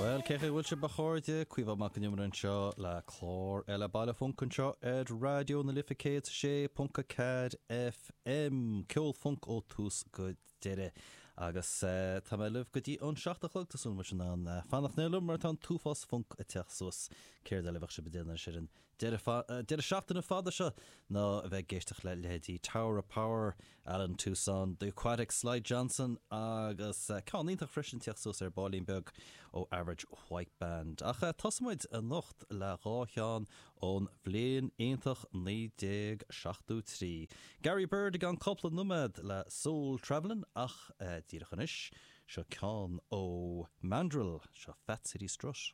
Bhuel, cén chaoi a bhfuil sibh, a chairde? Caoimhe Mac Con Iomaire anseo le clár eile Baile Func anseo ar Raidió na Life 106.4 FM. Ceol func ó tús go deireadh. Agus tá mé libh go dtí an 7 a chlog, tá súil agam go bhfuil sibh in ann fanacht liom mar tá an t-uafás func ag teacht suas. Céard eile a bheadh sibh ag déanamh anois ar an deireadh seachtaine fada seo ná a bheith ag éisteacht le leithéidí Tower of Power, Allen Toussaint, The Aquatics, Slide Johnson agus ceann iontach freisin ag teacht suas ar baillín beag ó Average White Band. Ach tosóidh muid anocht le dhá cheann ón bhliain iontach 1973. Gary Byrd i gceann cúpla nóiméad le Soul Travelin' ach díreach anois, seo ceann ó Mandrill, seo Fat City Strut.